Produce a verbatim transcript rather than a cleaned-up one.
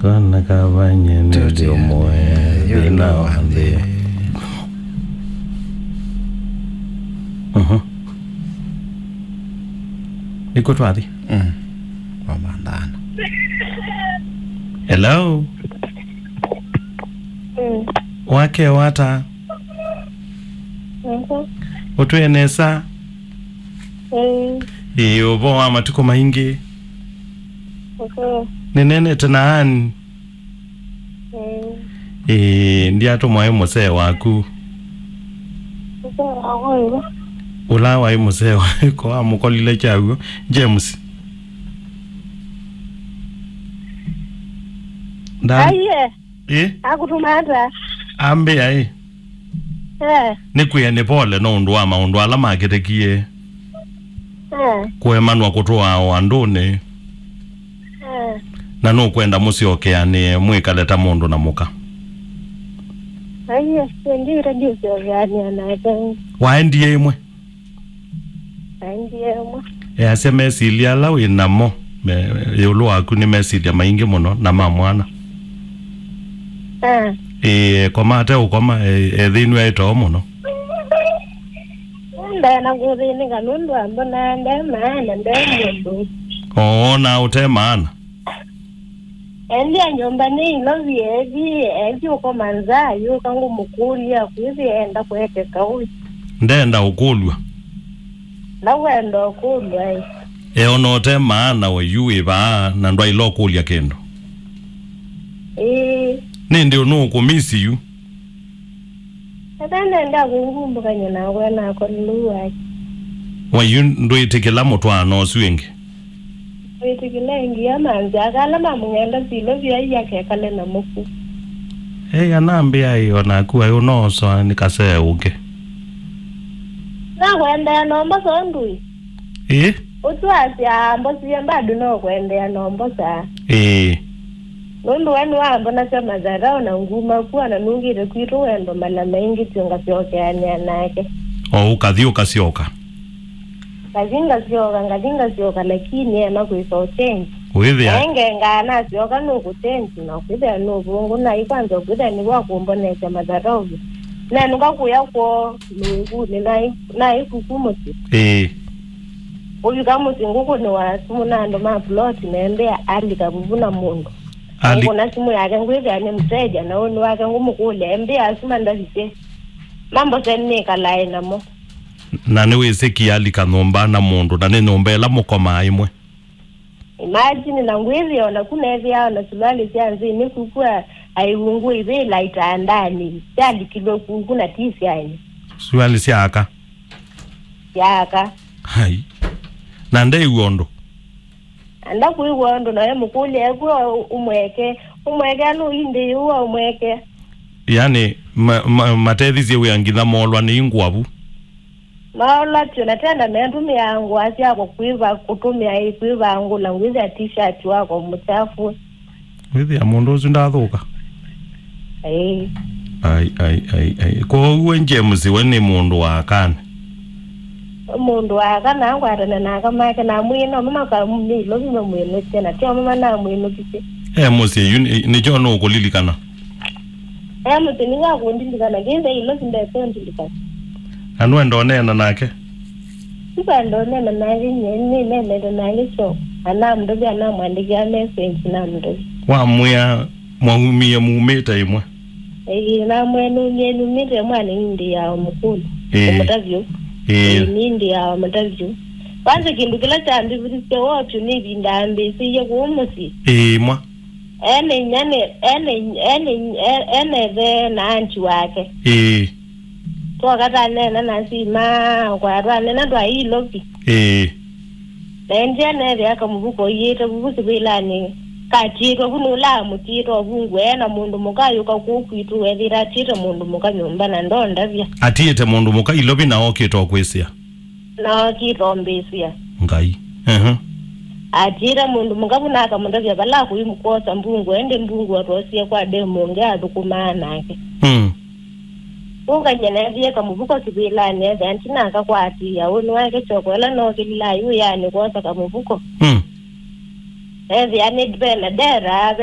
Kana kavanye nĩ ndio mwe thĩna wa nthĩ. Mhm. Nĩkũ twathi? Mm. Wamandana. Hello? Mm. Wake wata? Mhm. Ũtwĩe nesa? Mm. Ĩĩ, ũvoo wa matukũ maingĩ. Mhm. Nĩnenete na Ann. Mm. Ĩĩ, ndiatũmwa ĩ mũsee waku. Mũsee waku ĩwe? Ũla waĩ mũsee waku wamũkolile kyaw'o, James. Nda- Aiye. Ĩ? Akũtũma ata? Ambĩa ĩ. Eh. Nĩkwĩe nĩ pole no ũndũ wa maũndũ ala makĩtekie. Eh. Kũemanwa kũtũaa o andũnĩ. Eh. Na nũkwenda mũsyokeanĩe mwĩkale ta mũndũ na mũka. Aiye, ndiĩte ndisyokeanĩa nake. Waendie ĩmwe? Aendie ũmwe. Easya mesilya ala wĩ namo me- ĩũlũ waku nĩ mesilya maingĩ mũno na ma mwana. Ah. Ĩĩ, ekoma ate ũkoma, e- ethĩnw'a ĩ too mũno. Ndaena kũthĩnĩka nũndũ ambonaa nde maana nde mũndũ. Oonaa ũte maana. Endia nyũmba nĩ ilovi ethi, ethi ũkoma nza, yũka ngũmũkũlya, kwĩthĩa enda kũekeka ũi. Ndenda ũkũlw'a. Na wenda ũkũlw'a ĩ. Eona ũte maana we yu wĩ vaa, na ndwaĩle ũkũlya kĩndũ. Ĩĩ. Nĩndĩ ũnũũkũmisi yu. Ethĩwa nenda kũngumbũkany'a nakwa nakolilũu wake. Wa yu ndwĩtĩkĩla mũtwaano ũsu ĩngĩ? Wĩtĩkĩla ĩngĩ ya manzĩ aka ala mamũng'enda silo vyai akekale na mũku. Ei, anambĩa ĩ, o naku aĩ ũnoosoa nĩ kasee ũngĩ. Nakwendea nomba so ndũĩ. Ĩĩ? Ũtwasya mbosie bado no kwendea nombosa. Ĩĩ. Nũndũ we nĩwambonasya madharau na nguma kuwa na nũngĩte kwitũ wendo mala maingĩ tyo ngasyokeanĩa nake. O ũkathi ũkasyoka. Ngathi ngasyoka, ngathi ngasyoka, lakini ema kwĩsa ũchenji. Wĩthĩa. Naye ngengaa nasyoka nũkũchenji, na kwĩthĩa nũvũngũ, naĩ kwanza kwĩthĩa nĩvo akũmbonesya madharau. Nenũka kũya kwoo nũngũnĩ, naĩ, naĩ kuku mũsyĩ. Ĩĩ. Ũvika mũsyĩ ngũkũnĩwa simũ na andũ ma plot, nembĩa alika vuvu na mũndũ. Ali- Ngũkũna simũ yake, ngwĩthĩa nĩ mteja, na ũnĩ wake ngũmũkũlya, embĩa asu mandavisye. Mambose nĩkalae namo. Na nĩwĩsĩ kialika nyũmba na mũndũ, na nĩ nyũmba ĩla mũkomaa ĩmwe. Imagine, na ngwĩthĩa o naku neethĩawa na suruali sya nzĩnĩ kuku a-, aiwungũ ivĩla itandanĩ, syalikilwe kuku na ti syaĩ. Suruali sya aka? Sya aka. Hai. Na ndeiw'a ũndũ? Anda kwĩw'a ũndũ nawe mũkũlya ekw'a ũmweke, ũmweke anũindĩ yũa ũmweke. Yani, ma, ma, matethĩsye wĩa nginya moolwa nĩ ingũa vu. Maola tyo na tena metũmĩaa ngũa syakwa kwĩva kũtũmĩa ĩ kwĩvangũla ngwĩthĩa t-shirt wakwa mũkyafu. Wĩthĩa mũndũ ũsu ndathũka? Ĩĩ. Ai, ai, ai, ai. Kwoou we James we nĩ mũndũ wa akanĩ? Mũndũ wa aka na ngwatana na aka make na mwĩĩ no mama kamĩlovi mamwĩnũkye na tyo mama namwĩnũkisye. E mũsyĩ yu nĩ- nĩkyo nũkũlilikana? E mũsyĩ nĩwakũndilikana kĩndĩ ilo sindekũndilikana. Na nũenda ũneena nake? Sipanda ũneena nake nyie nĩneenete nake kyo. Anamũndũvya anamwandĩkĩa message namũndũvya. Wamwĩa mwaumie mumĩte ĩmwe? Ĩĩ, namwĩa numie numĩte mwana indi ya mũkũlũ. Ĩĩ. Mũtavyo. Ĩĩ. Ĩĩ, nindi ya mũtavyo. Kwanza kĩndũ kĩla kyambĩvĩthisye wotyo nĩ ĩvinda ambĩsĩie kũu mũsyĩ. Ĩĩ, mwa. Ene inyia nĩ- ene inyia- ene inyia- e- ene ĩthe na anti wake. Ĩĩ. Twoka taneena na sima kwa twanena twa ilovi. Ĩĩ. Naendie neethĩa kamũvuko ũiĩte vuvu kĩvĩlanĩ katiĩtwe vu nũla amũtiĩte ũvungũ ee na mũndũ mũka ayũka kũu kwitũ weethĩĩte atiĩte mũndũ mũka nyũmba na ndondavya. Atiĩte mũndũ mũka ilovi na okĩte o kwĩsĩa. Na okĩte o mbĩsĩa. Ngai. Ehe. Atiĩte mũndũ mũka vu na akamũtavya vala akũi kwosa mbungũ ĩndĩ mbungũ atwosie kwa demu ũngĩ athũkũmaa nake. Mm. Ũkany'a neethĩie kamũvuko kĩvĩlanĩ ethĩa ntinaka kwaatĩĩa ũnĩ wake kyoko ĩla nookĩlilaa yu yaanĩ kwosa kamũvuko. Mm. Ethĩa nĩ ve na ndera ve